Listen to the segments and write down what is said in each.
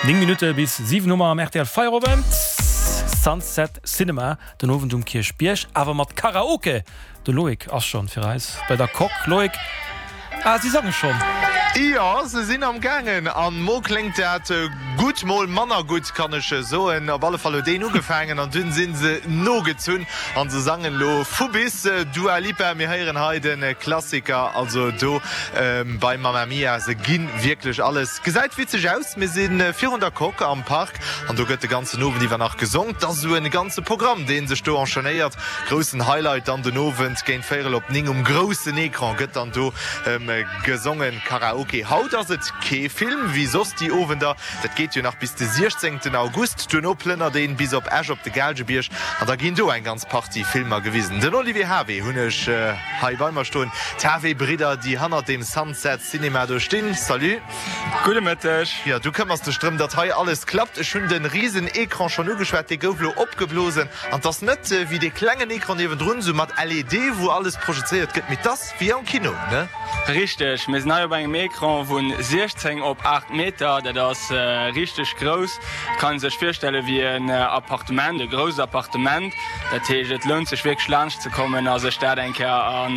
9 Minutte bis 7 hu mer am rtl Feierowend. Sunset Cinema den Owend um Kierchbierg, awer mat Karaoke. De Loïc ass schonn fir eis bei der Coque. Loïc, ah si sange schonn. Jo, se sinn am gaangen an mol kléngt dat gutt, mol manner gutt, kann ech soen. Op alle Fall huet een ugefaangen an dunn sinn se nogezunn an se sangen elo vu bis. Dua Lipa, mir héieren hei de Klassiker, also do bei Mamma Mia. Se gi wierklech alles. Gesäit witzeg aus. Mir si virun der Coque am Park an do gëtt de ganzen Owend iwwer nach gesong. 't ass esou en ganze Programm, dee sech do enchaînéiert. Groussen Highlight dann den Owend géint véierel op 9 um groussen Ecran gëtt dann do gesongen, Karaoke. Haut ass et kee Film wéi soss déi Owender, dat geet jo nach bis de 16 August. Duerno plënnert een bis op Esch op de Gaalgebierg an da ginn do eng ganz Partie Filmer gewisen. Den Olivier Havé hunn ech hei bei mer stoen, d'Havé-Bridder déi hannert dem Sunset Cinema do stinn. Salut. Gudde Mëtteg. Jo, du këmmers dech drëm, datt hei alles klappt. Ech hunn de risen Ecran schonn ugeschwat, dee gouf elo opgeblosen. An 't ass net wéi dee klengen Ecran niewendrun, sou mat LED, wou alles projezéiert gëtt, mee 't ass wéi am Kino, ne? Richteg, mir sinn hei op engem Ecran vu 16 op 8 Meter. Dat ass richteg grouss. Et kann ee sech virstelle wéi en Appartement, e grousst Appartement. Dat heescht, et lount sech wierklech laanscht ze kommen a sech dat eng Kéier a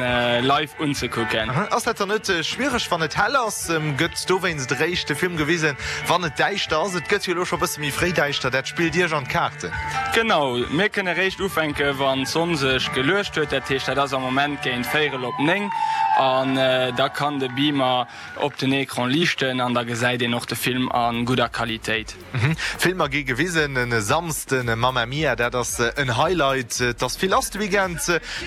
live unzekucken. Ass dat dann net schwiereg, wann et hell ass? Gëtt dowéinst eréischt de Film gewisen, wann et däischter ass? Et gëtt jo elo scho bësse méi fréi däischter, dat spillt Iech an d'Kaarten. Genau, mir kënne eréischt ufänke wann d'Sonn sech geluecht huet. Dat heescht, dat ass am Moment géint véierel op 9 an da kann de Beamer op den Ecran liichten an da gesäit een och de Film a gudder Qualitéit. Filmer gi gewisen e Samsden, Mamma Mia, dat ass en Highlight. Et ass vill lass de Weekend,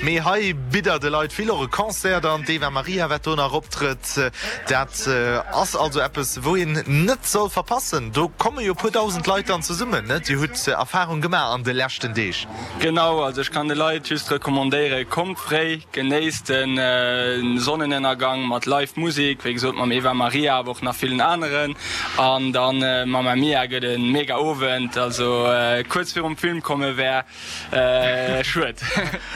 mee hei bitt der de Leit vill, och e Concert dann, d'Eva Maria wat do nach optrëtt. Dat ass also eppes wou een net soll verpassen. Do komme jo e puer dausend Leit dann zesummen, ne? Dir hutt Erfarung gemaach an de leschten Deeg. Genau, also ech kann de Leit just recommandéieren, kommt fréi, genéisst de Sonnenënnergang mat live Musik, wéi gesot mam Eva Maria, awer och nach villen aneren. An dann Mamma Mia gëtt e mega Owend, also kuerz virum Film komme wär schued.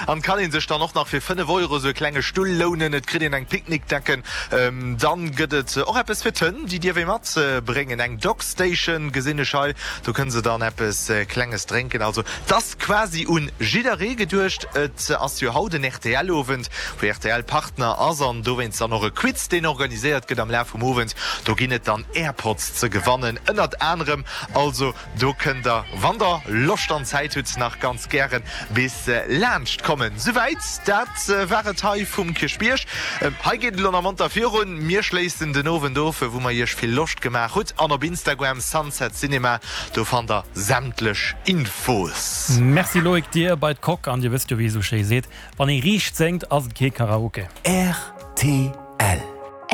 An kann een sech dann och nach fir 5 Euro sou e klenge Stull lounen, et kritt een eng Picknickdecken, dann gëtt et och eppes fir d'Hënn, déi dierf ee mat bréngen, eng Dog Station gesinn ech hei, do kënne se dann eppes klenges drénken, also 't ass quasi un jidderee geduecht. Et ass jo haut en RTL-Owend, wou rtl Partner ass an dowéinst dann och e Quiz, deen organiséiert gëtt am Laf vum Owend. Do ginn et dann Airpods ze gewannen ënnert anerem. Also do kënnt der, wann der Loscht an Zäit hutt, nach ganz gären bis laanscht kommen. Souwäit, dat war et hei vum Kierchbierg. Hei geet et elo nach monter virun. Mir schléissen den Owend of, wou mer iech vill Loscht gemaach hutt. An op Instagram Sunset Cinema, do fannt der sämtlech Infos. Merci Loïc, dir bei d'Coque. An dir wësst jo wéi ee sou schéi seet, wann ee riicht séngt, ass et kee Karaoke. Rtl.